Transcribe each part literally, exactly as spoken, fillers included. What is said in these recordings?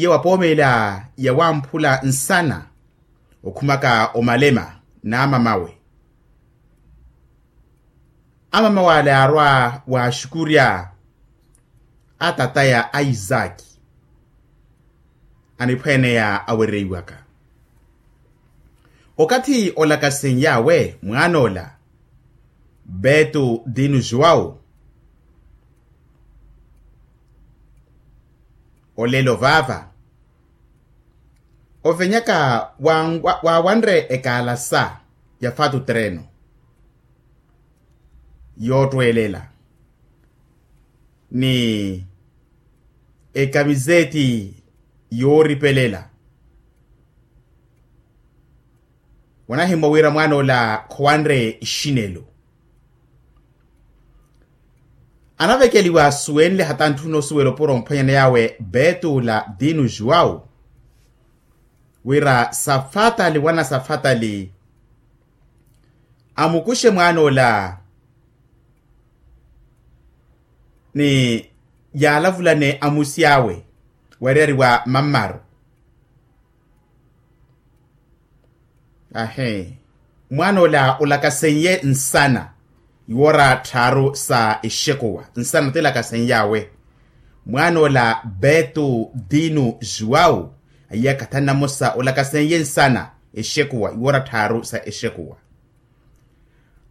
iye wapoomeela yawamphula nsana okhumaka omalema n'amamawe. Amamawe ale aarwa waaxukurya atataya a isaki aniphweeneya awereiwaka. Okathi olakasenyawe mwaan'ola betu dinu juwau olelo vaava ovenyaka waawanre ekaalasa ya fatu treno yoottweelela ni ekamizeeti yooripelela. Wanahimmwa wira mwaan'ola khowanre ixinelo. Anavekeliwa asuwenle hata ntthuna osuwela opuro omphwanyana yawe betu la dinu juwau wira safatali wana safatali amukuxe mwaan'ola ni yaalavulane amusi awe wariyari wa mammaru. Ahe mwaan'ola olakasenye nsana iwoora tthaaru sa exekuwa nsana tilakaseny'awe. Mwaan'ola betu dinu juwau aiyaka thannamosa olakasenye nsana exekuwa iwoora tthaaru sa exekuwa.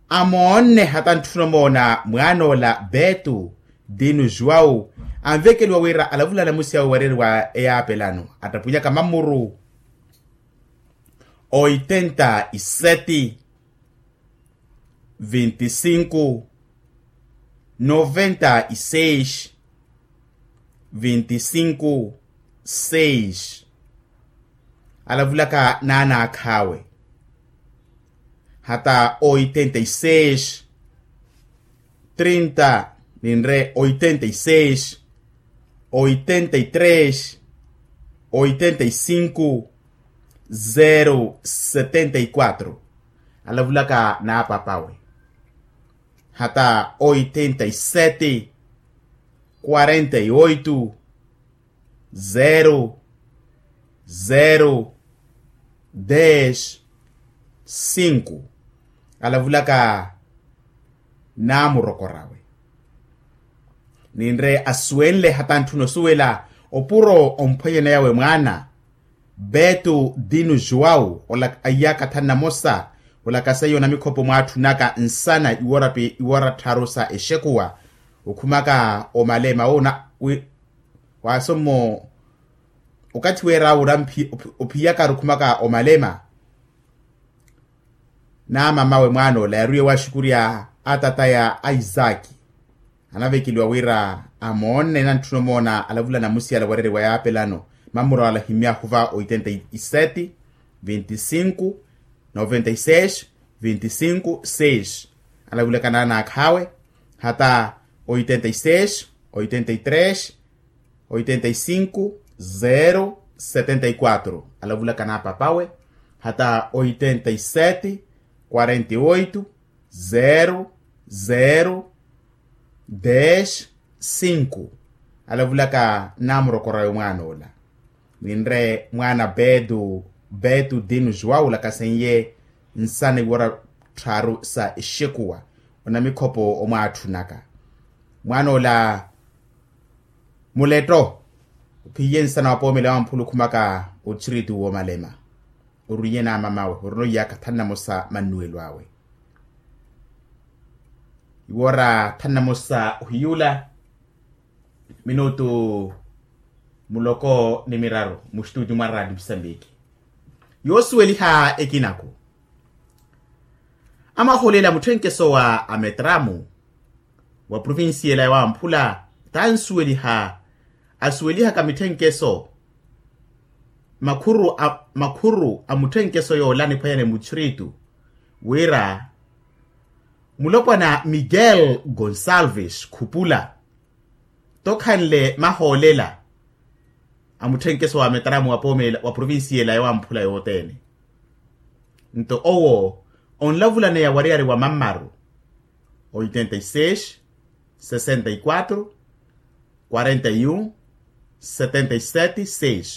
Amoonne hata ntthuna omoona mwaan'ola betu dinu juwau anvekeliwa wira alavulana amusi awe wariyari wa eyaapelano attapunyaka mamuru oitenta iseti vinti sinku noventa iseis vinti sinku seis. Alavulaka naanaakhawe hata oitenta iseis trinta ninre oitenta iseis oitenta itres oitenta isinku zero setenta ikwatro. Alavulaka n'apapawe hata oitenta iseti kwarenta ioitu zero zero des sinku. Alavulaka n'amurokorawe ninre asuwenle hata ntthuna osuwela opuro omphwanyana yawe mwaana betu dinu juwau aiyaka thanna mosa olakaseya onamikhopo mwaatthunaka nsana iwoora tthaaru sa exekuwa okhumaka omalema woona wi waasommo okathi weera wura ophiyaka arukhumaka omalema. N'amamawe mwaan'ola yaaruye waaxukurya atataya a isaki anavekeliwa wira amoonne nantthuna omoona alavulana amusi ala wariyari wa yaapelano mamuru ala ahimmyahu va oitenta iseti vinti sinku noventa iseis vinti sinku seis. Alavulaka naanaakhawe hata oitenta iseis oitenta itres oitenta isinku zero setenta ikwatro. Alavulaka n'apapawe hata oitenta iseti kwarenta ioitu zero zero des sinku. Alavulaka n'amurokorawe mwaan'ola ninre mwaana betu betu dinu juwau olakasenye nsana iwoora tthaaru sa exekuwa onamikhopo omwaatthunaka mwaan'ola muletto ophiye nsana wapoomela wamphula okhumaka otthiritu woomalema orwiye n'amamawe orina oiyaka thanna mosa mannuwelo awe iwoora thanna mosa ohiyuula minutu muloko ni miraru muxituuti mwa raati musambiki yoosuweliha ekinaku amaholela mutthenkeso wa ametramu wa provinsiyela ya wamphula tansuweliha asuwelihaka mitthenkeso makhuru a mutthenkeso yoola niphwanyane muttiritu wira mulopwana miguel gonsalves khupula tokhanle mahoolela a mutthenkeso wa ametramu wa provinsiyela ya wamphula yothene nto owo onlavulaneya wariyari wa mammaru oitenta iseis sesenta ikwatro kwarenta iun setenta iseti seis.